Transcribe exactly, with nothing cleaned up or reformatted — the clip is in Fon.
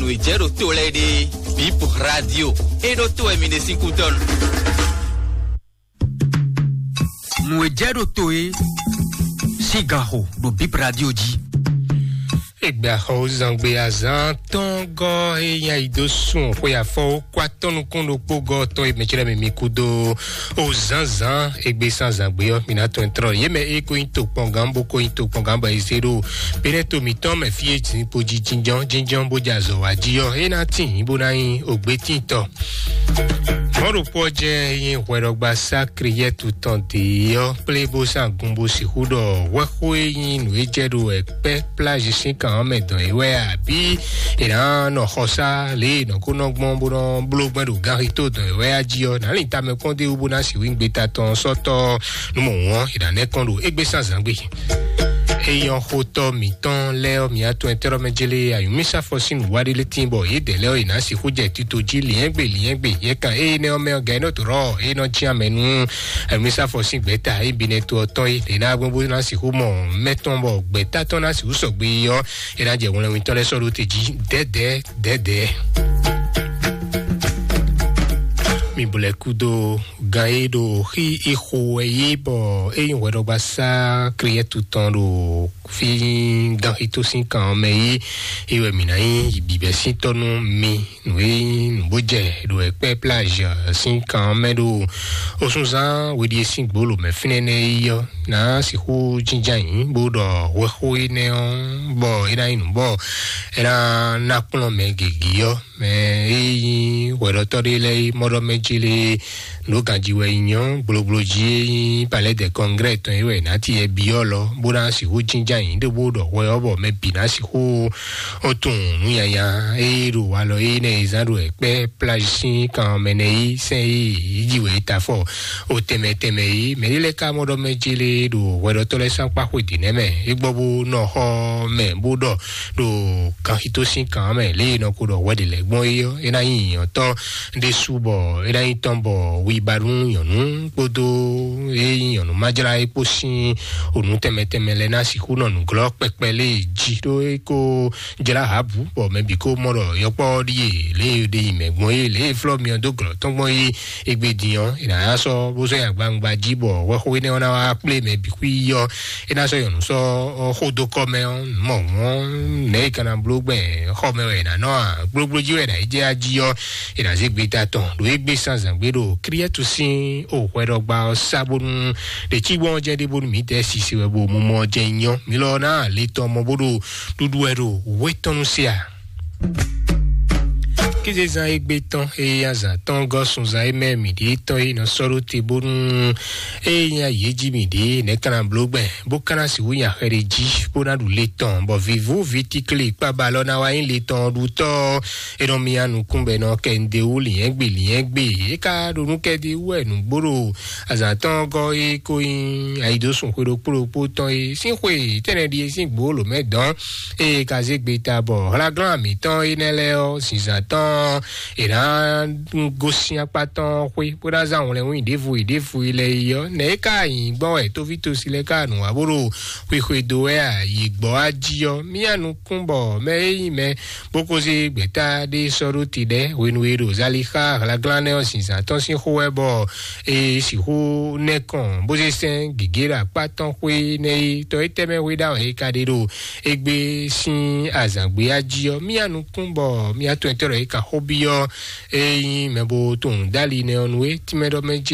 Nǔ e jɛ ɖo to lɛ́ɛ ɖe, Bip Radio. É ɖó to wɛ mi ɖe sín kúdɔn. Nǔ e jɛ ɖo to é sín ganxo ɖo Bip Radio jí. Egbe axɔwúzangbe azán tɔn gɔ́ e nyi ayi dó sun xwe afɔwó kó atɔ́ nukún ɖokpó gɔ́ tɔn e mɛ cɛ́ mi mi kú dó o zǎnzǎn egbe sín azǎngbe ɔ́, mi ná tɔn trɔ yě mɛ e ko nyi tokpɔngán bó ko nyi tokpɔngán bɔ è zé ɖo Benɛto mǐtɔn mɛ fí e jǐnkpo jí jínjɔ́n jínjɔ́n bó jɛ azɔ̌ wa jí ɔ́, é ná tíin bó ná nyí ògbétíntɔ. Mɔ̌ɖokpó ɔ́ jɛ nyí hwɛɖɔgba sá Kriyɛ́tu tɔn dě ɔ́ kplé bó sín agun bó sixú ɖɔ hwɛxó e nyí nǔ e jɛ ɖo wɛ kpɛ́ plázi sín kan ɔ́ mɛ dɔn é wɛ a, abǐ è nǎ nɔ xɔsá lě e nɔ ko nɔ gbɔn bó nɔ bló gbɛn ɖo ganxixo dɔn é wɛ a jí ɔ́, nǎ lin tamɛ kpɔ́n d'é wú bó ná sixú nyí gbeta tɔn sɔ́tɔ́ nú mɔ wɔn è nǎ nɛ́ kɔn ɖo égbé sín azǎngbe. Eyɔ́n xotɔ́ mǐtɔn lɛ́ɛ ɔ́, mǐ atɔn ɛtɛ́ mɛ jélé ayǔmísafɔ sín nǔwaɖélé tíin bɔ yědɛɛ lɛ́ɛ ɔ́, è nǎ sixú jɛ tito jí liɛ́ngbè liɛ́ngbè. Yɛ kan énɛ́ ɔ́ mɛ ɔ́, gɛ̌nɔ́ tó rɔ é nɔ jí amɛ nú ayǔmísafɔ sín gbɛ̌ta e bi nɛ́ to ɔ́ tɔn é, è nǎ gbɔn bó ná sixú mɔ mɛtɔn bɔ gbɛ̌ta tɔn ná sixú sɔgbe ɔ́, é ná jɛ hwlɛnwítɔ́ lɛ́ɛ sɔ́ ɖó te jí dɛ̌dɛ̌ dɛ̌dɛ̌. Mi blɛ́ kú dó gan e ɖo xí ixo wɛ yí bɔ é nyí hwɛɖɔgbasá Kriyɛ́tu tɔn ɖo fí ganxito sín kan ɔ́ mɛ yí. É wɛ mǐ ná nyí bǐbɛ́síntɔ́ nú mi. Nǔ e nyí nǔ bó jɛ ɖo ɛkpɛ́ plage sín kan ɔ́ mɛ ɖo osúnzán weɖie sín gbolo mɛ fínɛ́ nɛ́ yí ɔ́, ná sixú jínjɔ́n ayǐ bó ɖɔ hwɛxó énɛ́ ɔ́, bɔ é ná nyí nǔ bɔ é ná ná kplɔ́n mɛ gěgé ɔ́, mɛ e nyí hwɛɖɔtɔ́ ɖé lɛ́ɛ é mɔ ɖɔ mɛ jí lé nǔ ganjí wɛ nyí ɔ́, gblogblo jí e nyí Palais de Congrès tɔn é wɛ nǎ ti yɛ byɔ́ lɔ, bó ná sixú jínjɔ́n ayǐ ɖé bó ɖɔ hwɛ ɔ́, bɔ mɛ bǐ ná sixú ó tunwun nǔ nyanya e ɖo walɔ e nɛ e zán ɖo ɛkpɛ plage sín kan mɛ nɛ yi sɛn e yi ji wɛ e ta fɔ o tɛmɛ tɛmɛ yi mɛ ɖé lɛ ka mɔ ɖɔ mɛ jele ɖo hwɛɖɔtɔ lɛ sán kpa xwe dǐ nɛ mɛ e gbɔ bó nɔ xɔ mɛ bó ɖɔ ɖo kanxito sín kan mɛ lě e nɔ ko ɖɔ hwɛ ɖe lɛ gbɔn é ɔ́, é ná nyí nyɔ̌tɔ ɖésú bɔ é ná nyí tɔn bɔ wiba nú nyɔ̌nu kpódó e nyí nyɔ̌nu májlá é kpó sín onú tɛmɛ tɛmɛ lɛ ná sixú nɔ nǔglɔ́ kpɛkpɛ lé jí ɖó é kó jlá Ahabu bɔ mɛ bǐ ko mɔ ɖɔ yɔkpɔ́ ɖíe lě e ɖe nyi mɛ gbɔn é, lě e flɔ́ myɔ dó glɔ̌ tɔn gbɔn é. Égbé din ɔ́, è nǎ sɔ́ bó sɔ́ nyi agbawungba jí bɔ hwɛxó énɛ́ ɔ́ ná wá kplé mɛ bǐ xwí ɔ́, é ná sɔ́ nyɔ̌nu sɔ́ xó dó kɔ mɛ ɔ́, mɔ mɔ̌ nɛ̌ è ka ná bló gbɛn xɔ mɛ wɛ è nǎ nɔ a? Gblógbló jí wɛ è nǎ yi jɛ ají ɔ́, è nǎ zé gbeta tɔn ɖo égbé sín azǎngbe ɖo Kriyɛ́tu sín o hwɛɖɔgba ɔ́ sá bónú ɖě cí gbɔn ɔ́ jɛ ɖé bónú mǐ tɛ sisi wɛ bo mumɔ ɔ́ jɛ nyɔ. Mi lɔ ná le tɔn mɔ bó ɖo ɖuɖu wɛ ɖo wétɔ́nu se a? Kézezán égbé tɔn eye azǎn tɔn gɔ́ sunzán e mɛ mǐ ɖe tɔn e nɔ sɔ́ ɖó te bónú eye nya yě jí mǐ ɖe nɛ̌ ka ná bló gbɛn bó ka ná sixú nya xɛ ɖé jí bó ná ɖu le tɔn bɔ vǐvú vǐtikli kpába lɔ ná wá nyí le tɔn ɖutɔ́. É nɔ mia nukún bɔ è nɔ kɛ nǔɖé wú lǐnyɛ́gbe lǐnyɛ́gbe. É ka ɖo nú kɛɖi wú wɛ nǔgbó ɖo azǎn tɔn gɔ́ é kó nyí ayidosùn xwe ɖokpó ɖokpó tɔn é sín xwe tɛnɛ ɖi é sín gbǒ lǒ mɛ dɔn. Ée ka zé gbe ta bɔ hlaglán mǐtɔn énɛ́ lɛ́ɛ ɔ́, zinzǎn tɔn è nǎ gosín akpá tɔn xwé bó ná zán wlɛ́nwún ɖěvo yi ɖěvo yi lɛ́ɛ yi ɔ́, nɛ̌ é ka nyǐ gbɔn wɛ tóvítosi lɛ́ɛ ka nǔ wa bó ɖo xwexwe dó wɛ a? Yi gbɔ wá jí ɔ́, mía nukún bɔ mɛ e nyí mɛ bó ko zé gbɛ̌ta ɖé sɔ́ ɖó te ɖɛ́ hwenu e ɖo Zalixa hlaglán nɛ́ ɔ́ zinzǎn tɔn sín xó wɛ bɔ è sixú nɛ́ kɔn bó zé sɛ́n gěgé ɖo akpá tɔn xwé nɛ́ é. Tɔ étɛ́ mɛ xwé ɖ'awǎn e ka ɖe ɖo égbé sín azǎngbe jí ɔ́, mía nukún bɔ mía tɔn etɔ́ ɖɔ é ka xó byɔ́ é nyí mɛ bo tunwun dó ali nɛ́ ɔ́ nú é tínmɛ ɖɔ mɛ jí